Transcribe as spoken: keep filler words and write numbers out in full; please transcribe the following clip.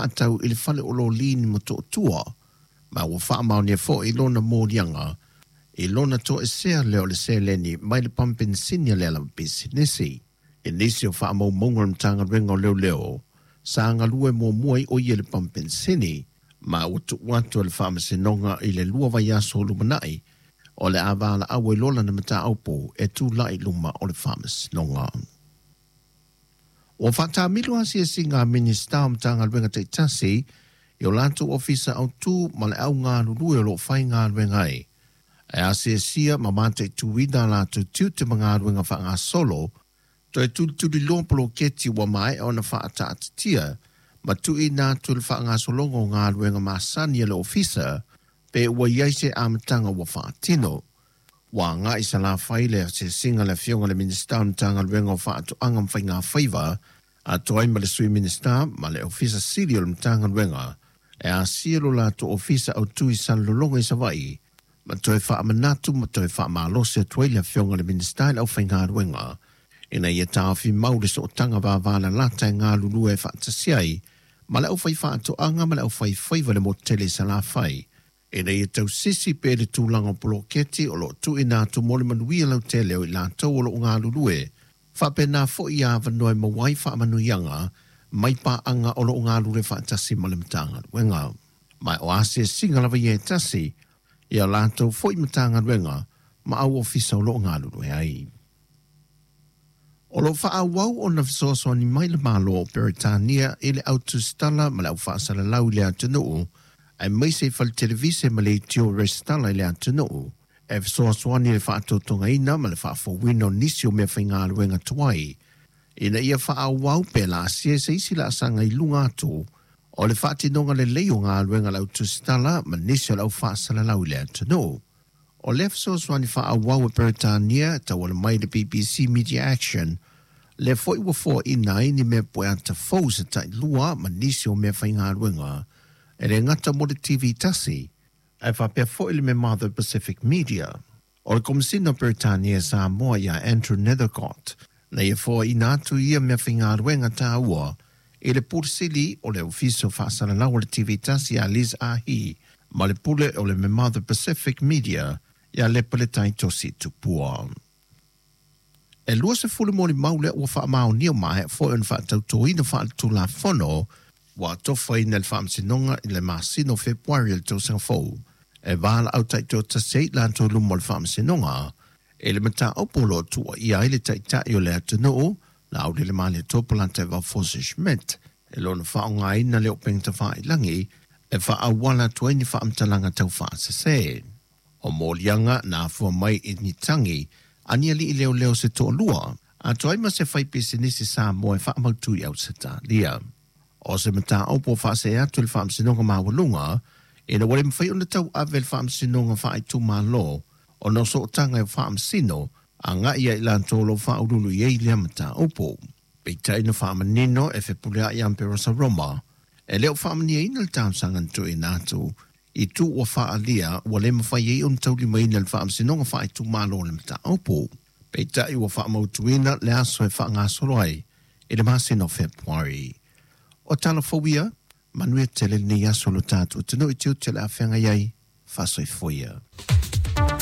faatau i le fale o loli ni Motootua, ma ua faamaonia foi lona moliaga i lona toesea lea o le seleni mai le pampensini a le ala pisinisi. I nisi o faamaumauga o le Matagaluega o Leoleo, sa galue muamua ai o ia i le pampensini, ma ua tuu atu e le Faamasinoga i le lua vaiaso o lumanai o le a valaau ai loa lana mataupu e tulai i luma o le Faamasinoga. Ua faatamilo asiasiga a Minisita o Matagaluega taitasi i o latou ofisa autu ma le au galulue o lo o faigaluega ai, e asiasia ma mataituina a latou tiute ma galuega faagasolo, toe tulituliloa poloketi ua maea ona faataatitia ma tuuina atu i le faagasologa o galuega masani a le ofisa pe ua i ai se amataga ua faatino. Ua agai i Salafai le asiasiga a le Afioga i le Minisita o le Matagaluega o Faatoaga ma Faigafaiva, atoa ai ma le Sui Minisita ma le Ofisa Sili o le Matagaluega e asia lo latou ofisa autu i Salelologa i Savaii, ma toe faamanatu ma toe faamalosi atu ai le Afioga i le Minisita i le aufaigaluega ina ia taofi mau le sootaga vavalalata e galulue faatasi ai ma le aufaifaatoaga ma le aufaifaiva i le motu tele i Salafai, ina ia tausisi pea le tulaga o poloketi o lo o tuuina atu mo le manuia lautele o i latou o lo o galulue, faapena foi ia avanoa e maua ai faamanuiaga mai paaga o lo o galulue faatasi ma le Matagaluega. Ma o asiasiga lava ia e tasi ia latou foi Matagaluega ma au ofisa o lo o galulue ai. O lo o faaauau ona fesoasoani mai le Malo o Peretania i le au tusitala ma le au faasalalau i le atunuu, aemaise i fale televise ma leitio resitala i le atunuu, e fesoasoani i le faatotogaina ma le faafouina o nisi o meafaigaluega tuai, ina ia faaauau pe laasia se isi laasaga i luga atu o le faatinoga lelei o galuega a le au tusitala ma nisi o le au faasalalau i le atunuu. O lea fesoasoani faaauau e Peretania e tauala mai i le B B C Media Action, lea foi ua foaina ai ni mea pueata fou se tailua ma nisi o meafaigaluega e le gata mo le T V tasi, ae faapea foi le mea Mother Pacific Media. O le Komesina o Peretania e Samoa ia Andrew Nethercott, na ia foaina atu ia meafaigaluega taua i le Pule Sili o le Ofisa o Faasalalau o le T V tasi ia Liz Ahi ma le Pule o le Mother Pacific Media ia Lepaletai Tosi Tupua. E luasefulu molimau lea ua faamaonia maea foi ona faatautoina faaletulafono ua tofaina le Faamasinoga i le masina o Fepuari o le tausaga fou e valaau taitoatasi ai latou luma o le Faamasinoga i le mataupu o lo o tuuaia ai le taitai o le atunuu Laaulialemalietoa Polataivao Fosi Schmidt e lona faaaogaina le upega tafailagi e faaauala atu ai ni faamatalaga tau faasese. O moliaga na afua mai i ni tagi a ni alii leoleo se toalua, atoa ai ma se faipisinisi Samoa e faamautu i Ausetalia. O se mataupu o faasee atu i le Faamasinoga Maualuga, ina ua le mafai ona tauave le Faamasinoga Faaitumalo ona o sootaga e faamasino agai ia i latou o lo o faaululu i ai lea mataupu. Peitai na faamanino e fepuleai Amperosa Roma, e le o faamaniaina le talosaga na tuuina atu i tu ua faaalia ua le mafai ai ona taulimaina le Faamasinoga Faaitumalo o le mataupu. Peitai ua faamautuina le aso e faagasolo ai i le masina o Fepuari. O tala fou ia, manuia tele lenei aso lo tatou atunuu i tiute o le a feagai ai, faasoifua ia.